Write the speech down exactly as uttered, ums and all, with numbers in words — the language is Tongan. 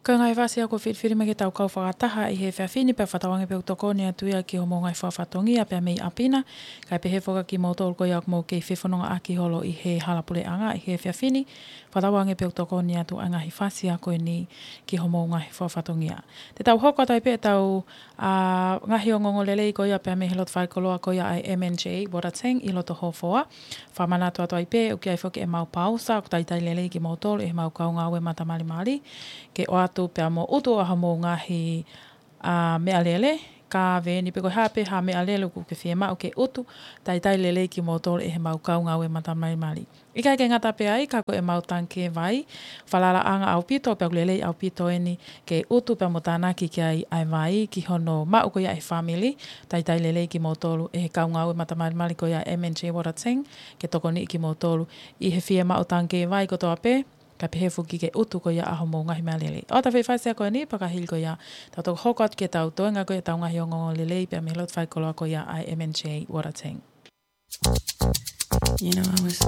Ko e ngaahi fasi ia kuo filifili mai ke tau kau fakataha ʻi he efiafi ni, pea fakatauange pē ʻoku tokoni atu ia ki hoʻomou ngaahi fakafatongia pea mei ʻapi na, kae pehē foki kimoutolu ko ia ʻoku mou kei fefonongaʻaki holo ʻi he hala puleʻanga ʻi he efiafi ni, fakatauange pē ʻoku tokoni atu ʻa e ngaahi fasi ia ko eni ki hoʻomou ngaahi fakafatongia. Te tau hoko atu ai pē ʻetau ʻa e ngaahi ongoongolelei ko ia pea mei he loto faikoloa ko ia ʻa e M and J Water Tank ʻi loto Hofoa. Fakamanatu atu ai pē, ʻoku ʻi ai foki ʻemau pausa, ʻoku talitali lelei kimoutolu ʻe heʻemau kau ngāue matamalimali ke ʻoatu pea mo ʻutu ʻa hoʻomou ngaahi ʻa e meʻalele, ka veeni pe ko e hā pē ha meʻalele ʻoku ke fiemaʻu ke ʻutu, talitali lelei kimoutolu ʻe heʻemau kau ngāue matamalimali. ʻIkai ke ngata pē ai, ka ko ʻemau tangikē vai, falalaʻanga ʻaupito, pea ʻoku lelei ʻaupito eni ke ʻutu pea mo tānaki ki ai ʻa e vai ki hono maʻu ko ia ʻe he fāmili, talitali lelei kimoutolu ʻe he kau ngāue matamalimali ko ia M and J Water Tank, ke tokoniʻi kimoutolu ʻi he fiemaʻu tangikē vai kotoa pē, kae pehē foki ke ʻutu ko ia ʻa hoʻomou ngaahi meʻalele. ʻOatu e fasi ia ko eni, pea ka hili ko ia, tau toki hoko atu ki heʻetau toenga ko ia ʻetau ngaahi ongoongolelei pea mei he loto faikoloa ko ia ʻa e M and J Water Tank. You know, I was